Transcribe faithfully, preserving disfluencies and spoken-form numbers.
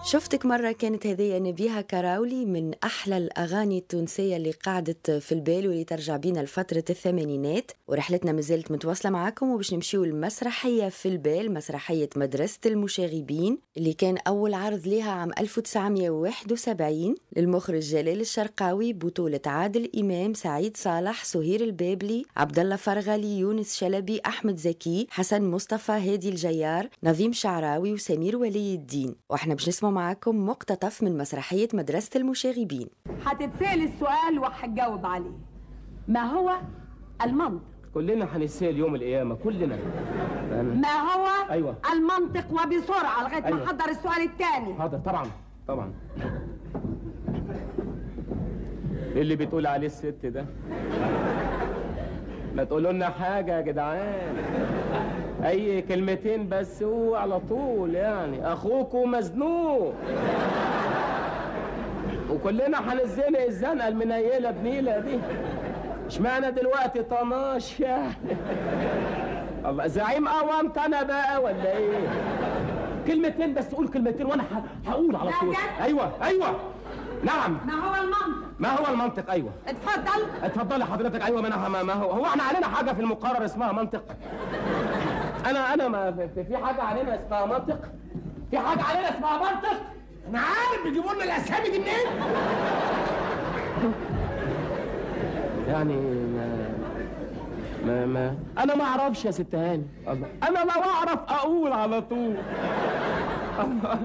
شفتك مرة كانت هذه نبيهة كراولي من أحلى الأغاني التونسية اللي قعدت في البال واللي ترجع بينا لفترة الثمانينات. ورحلتنا مازالت متواصلة معاكم وباش نمشيو المسرحية في البال، مسرحية مدرسة المشاغبين اللي كان أول عرض لها عام ألف وتسعمية وواحد وسبعين للمخرج جلال الشرقاوي، بطولة عادل إمام، سعيد صالح، سهير البابلي، عبد الله فرغلي، يونس شلبي، أحمد زكي، حسن مصطفى، هادي الجيار، نظيم شعراوي، وسمير ولي الدين. واحنا باش نسمع معاكم مقتطف من مسرحية مدرسة المشاغبين. هتتسأل السؤال وهتجاوب عليه. ما هو المنطق؟ كلنا هنتسأل يوم القيامة، كلنا. ما هو أيوة. المنطق، وبسرعة لغاية أيوة. ما أحضر السؤال الثاني. حاضر، طبعا طبعا. إيه اللي بتقول عليه الست ده؟ ما تقولوا لنا حاجة يا جدعان، أي كلمتين بس هو على طول، يعني أخوكوا مزنوق وكلنا هنزنق الزنقة المنيلة بنيلة دي. اشمعنى دلوقتي طناش يعني؟ الله، زعيم قوامت أنا بقى ولا إيه؟ كلمتين بس، قول كلمتين وأنا هقول على طول. أيوه أيوه نعم. ما هو المنطق؟ ما هو المنطق؟ ايوه اتفضل. اتفضلي حضرتك. ايوه ما انا ما هو هو احنا علينا حاجة في المقرر اسمها منطق؟ انا انا ما في, في حاجة علينا اسمها منطق؟ في حاجة علينا اسمها منطق؟ انا عارف بيجيبوا لنا الاسامي دي منين؟ يعني ما ما, ما انا ما اعرفش يا ست هاني. الله، انا لو اعرف اقول على طول. الله.